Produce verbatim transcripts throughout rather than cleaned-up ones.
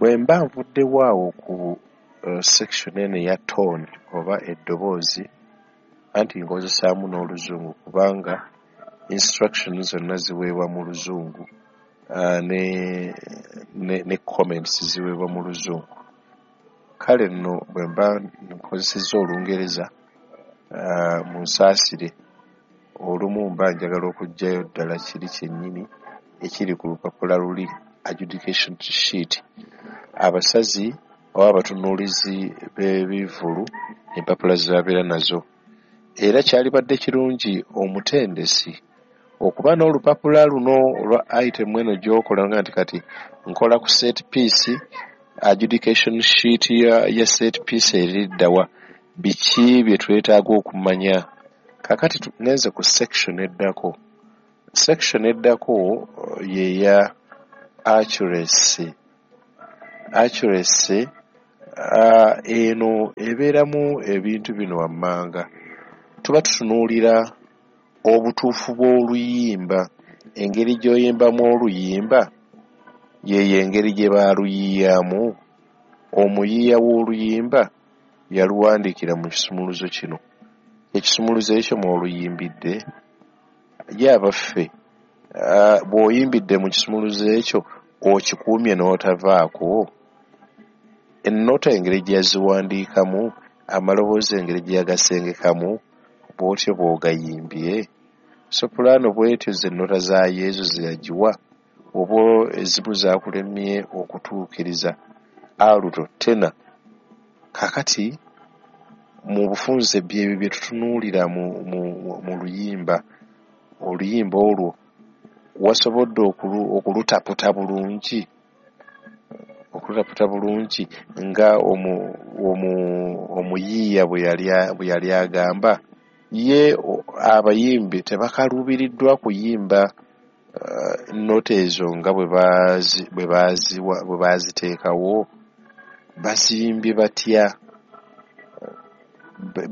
Bwe mba nvuddewo awo ku uh, section eno eya tone oba eddoboozi, anti nkozesaamu n'oluzungu kubanga instruction zonna ziweebwa mu luzungu, uh, ne, ne, ne comments ziweebwa mu luzungu. Kale nno bwe mba nkozesezza olungereza, uh, munsaasire, olumu mba njagala okuggyayo ddala kiri kyennyini ekiri ku lupapula luli adjudication sheet. Abasazi oba abatunuulizi b'ebivvulu empapula ze babeera nazo. Era kyalibadde kirungi omutendesi okuba n'olupapula luno olwa item eno gy'okola nga nti kati nkola ku set piece, adjudication sheet ya, ya set piece eriddawa, biki bye twetaaga okumanya. Kaakati ngenze ku section eddako. Section eddako ye ya accuracy. Accuracy uh, eno ebeeramu ebintu bino wammanga. Tuba tutunuulira obutuufu bw'oluyimba, engeri gy'oyimbamu oluyimba yeyo engeri gye baaluyiiyamu. Omuyiiya w'oluyimba yaluwandiikira mu kisumuluzo kino, ekisumuluzo ekyo mw'oluyimbidde. Ye abaffe, uh, bw'oyimbidde mu kisumuluzo ekyo okikuumye n'otavaako? Ennota engeri gye yaziwandiikamu, amaloboozi engeri gye yagasengekamu, bw'otyo bw'ogayimbye? Soprano bw'etyo ze nnota za Yezu ze yagiwa, oba ezimu zaakulemye okutuukiriza, alto, tenor. Kaakati mu bufunze byebyo bye tutunuulira mu, mu, mu luyimba. Oluyimba olwo wasobodde okulu, okulutaputa bulungi, okulutaputa bulungi nga omu, omu, omuyiiya bwe yali, bwe yali agamba. Ye abayimbi tebakaluubiriddwa kuyimba uh, nnota ezo nga bwe baazi, bwe baaziwa, bwe baaziteekawo. Baziyimbye batya?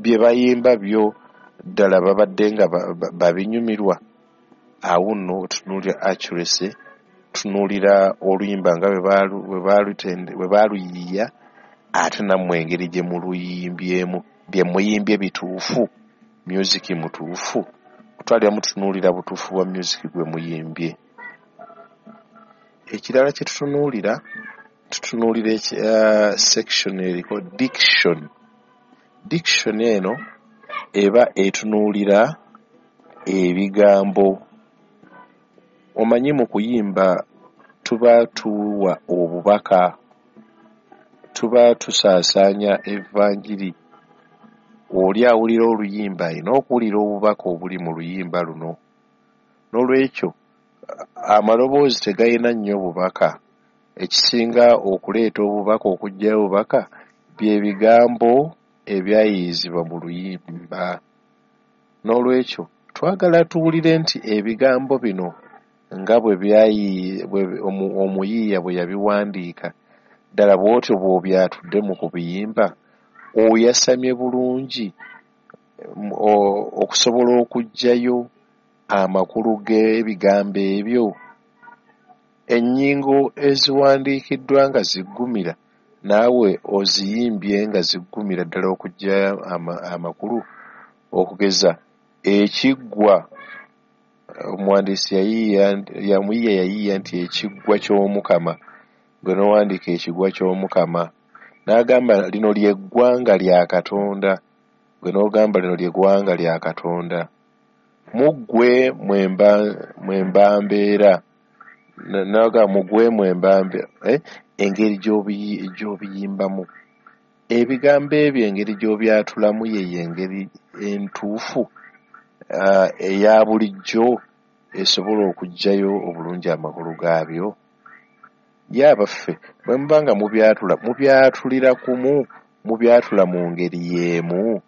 Bye bayimba byo ddala babadde nga babinyumirwa? Awo nno tutunuulira accuracy, tutunuulira oluyimba nga bwe baaluyiiya, ate nammwe engeri gye muluyimbyemu, bye muyimbye bituufu, music mutuufu. Kutwaliramu tutunuulira butuufu bwa music gwe muyimbye. Ekirala kye tutunuulira, tutunuulira uh, section eriko diction. Diction eno eba etunuulira ebigambo. Omanyi mu kuyimba tuba tuwa obubaka, tuba tusaasaanya evanjiri. Oli awulira oluyimba alina okuwulira obubaka obuli mu luyimba luno. N'olwekyo amaloboozi tegalina nnyo bubaka. Ekisinga okuleeta obubaka, okuggyayo obubaka, bye bigambo ebyayiiyizibwa mu luyimba. N'olwekyo twagala tuwulire nti ebigambo bino nga bwe byayi, bwe omuyiiya bwe yabiwandiika, ddala bw'otyo bw'obyatudde mu kubiyimba, oyasamye bulungi okusobola okuggyayo amakulu g'ebigambo ebyo. Ennyingo eziwandiikiddwa nga ziggumira, naawe oziyimbye nga ziggumira ddala okuggyayo amakulu. Okugeza ekiggwa, omuwandiisi yayiiya, omuyiiya yayiiya nti ekiggwa ky'Omukama, gwe n'owandiika ekigwa ky'Omukama. N'agamba lino lye ggwanga lya Katonda, gwe n'ogamba lino lye ggwanga lya Katonda. Mu ggwe mwe mba mbeera, n'agamba mu ggwe mwe mba mbeera, engeri gy'obiyimbamu. Ebigambo ebyo engeri gy'obyatulamu yeyo engeri entuufu eya bulijjo esobola okuggyayo obulungi amakulu gaabyo. Ye abaffe, bwe muba nga mubyatula, mubyatulira kumu, mubyatula mu ngeri y'emu?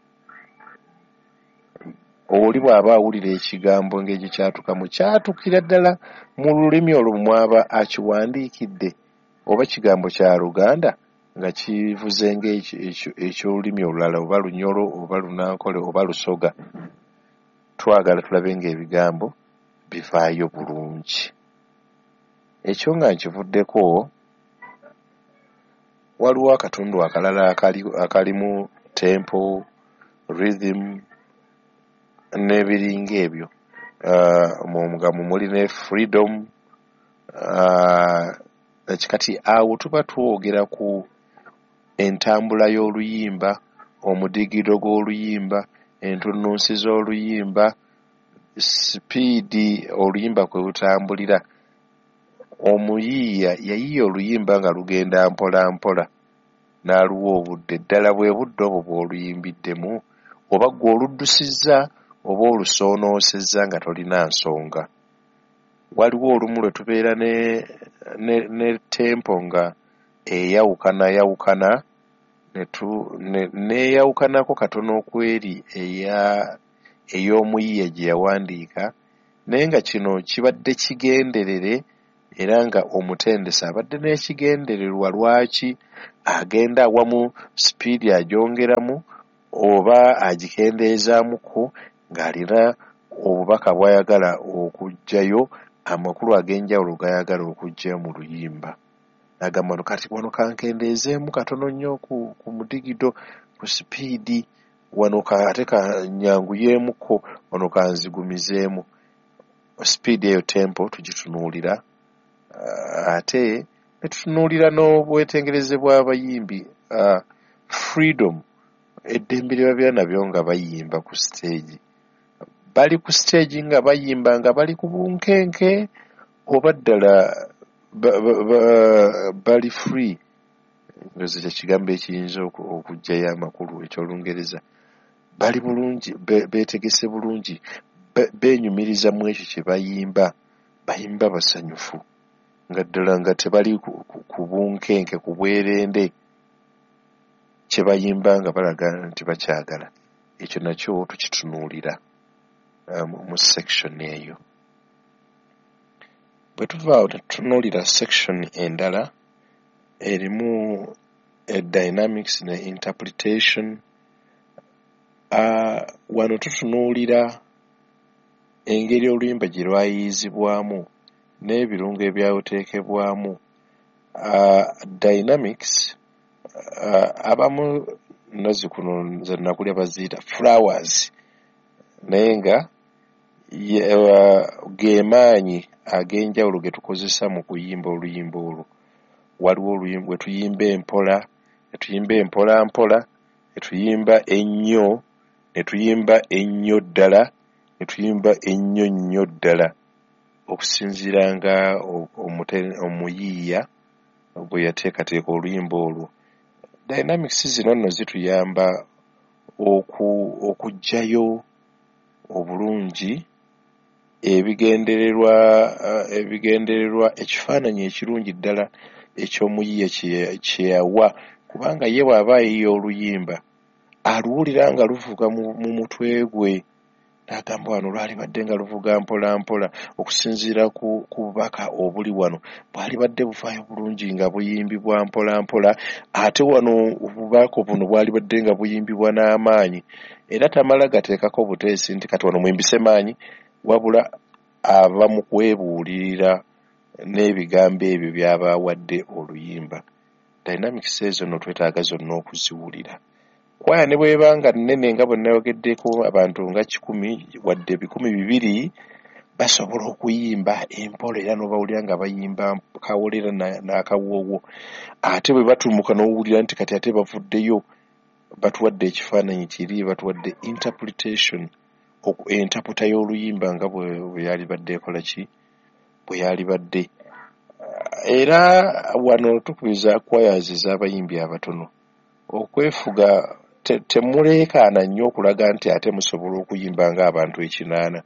Oli bw'aba awulira ekigambo engeri gye kyatukamu, kyatukira ddala mu lulimi olwo mw'aba akiwandiikidde, oba kigambo kya Luganda nga kivuze ng'eky'olulimi olulala, oba Lunyolo, oba Lunankole, oba Lusoga. Twagala tulabe ng'ebigambo bivaayo bulungi. Ekyo nga nkivuddeko, Waliwo akatundu akalala akali akalimu tempo, rhythm n'ebiringa ebyo, uh, nga mwe muli ne freedom. uh, kati awo tuba twogera ku entambula y'oluyimba, omudigido gw'oluyimba, entunnunsi z'oluyimba, sipiidi oluyimba kwe lutambulira. Omuyiiya yayiiya oluyimba nga lugenda mpola mpola n'aluwa obudde. Ddala bwe budde obwo bw'oluyimbiddemu, oba ggwe oluddusizza oba olusoonoosezza nga tolina nsonga. Waliwo olumu lwe tubeera ne, ne, ne tempo nga eyawukanayawukana neeyawukanako katono ku eri eya ey'omuyiiya gye yawandiika, naye nga kino kibadde kigenderere era nga omutendesi abadde n'ekigendererwa lwaki agenda awamu sipiidi agyongeramu oba agikendeezaamuko, ng'alina obubaka bw'ayagala okuggyayo, amakulu ag'enjawulo g'ayagala okuggyayo mu luyimba. N'agamba no kati wano kankendeezeemu katono nnyo ku, ku mudigido, ku sipiidi, wano ate kannyanguyeemuko, wano kanzigumizeemu. Sipiidi eyo tempo tugitunuulira, uh, ate ne tutunuulira n'obwetengereze bw'abayimbi, uh, freedom, eddembe lye babeera nabyo nga bayimba ku siteegi. Bali ku siteegi nga bayimba nga bali ku bunkenke, oba ddala ba, ba, ba, bali free? Ndowooza kye kigambo ekiyinza okuggyayo amakulu eky'Olungereza. Bali bulungi, beetegese bulungi, beenyumiriza mu ekyo kye bayimba, bayimba basanyufu nga ddala nga tebali ku, ku, ku bunkenke, ku bwerende, kye bayimba nga balaga nti bakyagala. Ekyo nakyo tukitunuulira um, mu section eyo. Bwe tuva awo ne tutunuulira section endala erimu dynamics ne interpretation. Uh, wano tutunuulira engeri oluyimba gye lwayiiyizibwamu n'ebirungo ebyaluteekebwamu. Uh, dynamics, uh, abamu nazzikuno nze nakulya baziyita flowers, naye nga uh, ge maanyi ag'enjawulo ge tukozesa mu kuyimba oluyimba olwo. Waliwo oluyimba bwe tuyimba empola, ne tuyimba empola mpola, ne tuyimba ennyo, ne tuyimba ennyo ddala, ne tuyimba ennyo nnyo ddala, okusinziira nga omuyiiya bwe yateekateeka oluyimba olwo. Dynamics zino nno zituyamba oku, okuggyayo obulungi ebigendererwa, ebigendererwa ekifaananyi ekirungi ddala eky'omuyiiya kye yawa, kubanga ye bw'aba ayiiya oluyimba aluwulira nga luvuga mu, mu mutwe gwe, n'agamba wano lwalibadde nga luvuga mpola mpola okusinziira ku, ku bubaka obuli wano, bwalibadde buvaayo bulungi nga buyimbibwa mpola mpola, ate wano obubaka buno bwalibadde nga buyimbibwa n'amaanyi. Era tamala gateekako buteesi nti kati wano muyimbise maanyi, wabula aba mu kwebuulirira n'ebigambo ebyo by'aba awadde oluyimba. Dynamics ezo nno twetaaga zonna okuziwulira. Kwaya ne bw'eba nga nnene nga bwe nayogeddeko, abantu nga kikumi wadde bikumi bibiri basobola okuyimba empola era n'obawulira nga bayimba kawolera n'akawoowo. Ate bwe batumuka n'owulira nti kati ate bavuddeyo batuwadde ekifaananyi kiri, batuwadde interpretation, entaputa y'oluyimba nga bwe yalibadde ekola ki, bwe yalibadde. Era wano tukubiriza choirs ez'abayimbi abatono okwefuga, temuleekaana nnyo okulaga nti ate musobola okuyimba ng'abantu ekinaana.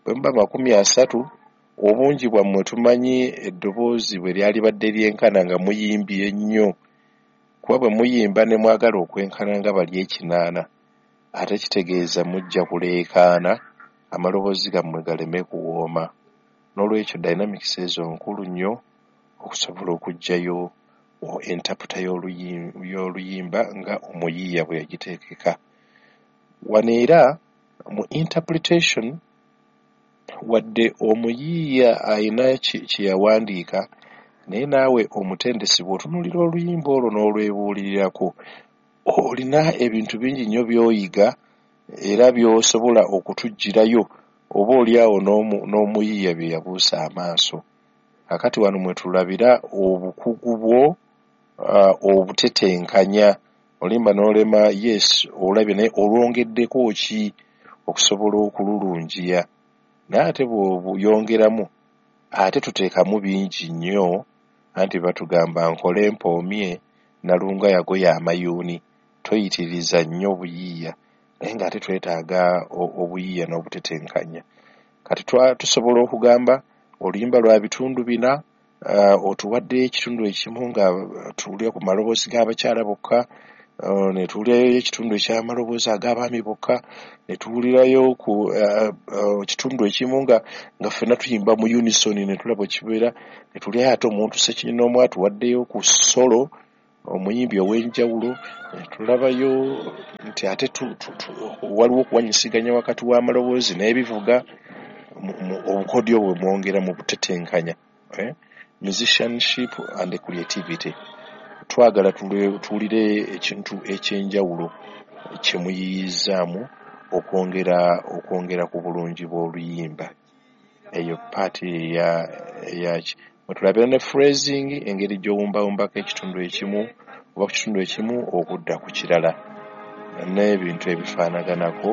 Bwe muba makumi asatu, obungi bwammwe tumanyi eddoboozi bwe lyalibadde lyenkana nga muyimbye nnyo, kuba bwe muyimba ne mwagala okwenkana nga bali ekinaana, ate kitegeeza mujja kuleekaana amaloboozi gammwe galeme kuwooma. Noolwekyo dynamics ezo nkulu nnyo okusobola okuggyayo entaputa y'oluyimba nga omuyiiya bwe yagiteekeka. Wano era mu interpretation, wadde omuyiiya alina kye yawandiika, Naye naawe omutendesi bw'otunuulira oluyimba olwo n'olwebuulirirako, olina ebintu bingi nnyo by'oyiga era by'osobola okutuggyirayo oba oli awo n'omuyiiya bye yabuusa amaaso. Kaakati wano mwe tulabira obukugu bwo uh, obutetenkanya. Oluyimba n'olema, yes, olabye, naye olwongeddeko ki okusobola okululungiya? Naye ate bw'oyongeramu ate tuteekamu bingi nnyo, anti batugamba nkole mpoomye nalunga yagoya amayuuni, toyitiriza nnyo buyiiya, naye ng'ate twetaaga obuyiiya n'obutetenkanya. Kati tusobola okugamba oluyimba lwa bitundu bina, uh, otuwaddeyo ekitundu ekimu nga tuwulira ku maloboozi g'abakyala bokka, uh, ne tuwulirayo ekitundu eky'amaloboozi ag'abaami bokka, ne tuwulirayo ku uh, uh, kitundu ekimu nga nga ffenna tuyimba mu unison ne tulaba bwe kibeera, ne tuwulirayo ate omuntu ssekinnoomu atuwaddeyo ku solo omuyimbi ow'enjawulo, ne tulabayo nti ate waliwo okuwanyisiganya wakati w'amaloboozi n'ebivuga, obukodyo bwe mwongera mu butetenkanya, eh? Musicianship and creativity. Twagala tuwulire ekintu eky'enjawulo kye muyiiyizzaamu okwongera okwongera ku bulungi bw'oluyimba. Eyo part eya eyaki mwe tulabira ne phrasing, engeri gy'owumbawumbako ekitundu ekimu oba ku kitundu ekimu okudda ku kirala n'ebintu ebifaanaganako.